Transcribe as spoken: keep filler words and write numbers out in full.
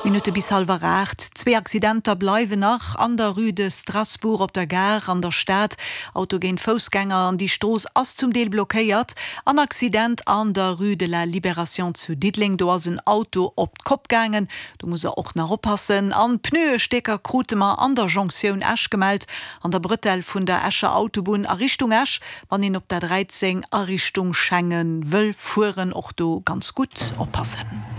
Minutte bis hallwer aacht. Zwee Accidenter bleiwen nach an der Rue de Strasbourg op der Gare an der Stad. Auto géint Foussgänger an déi Strooss ass zum Deel blockéiert. An Accident an der Rue de la Libération zu Diddeleng, do ass en Auto op d'Kopp gaangen. Do muss der och nach oppassen. An Pneuestécker krute mer an der Jonktioun Esch gemellt, an der Brëtell vun der Escher Autobunn a Richtung Esch, wann een op der dräizéng a Richtung Schengen wëll fueren, och do ganz gutt oppassen.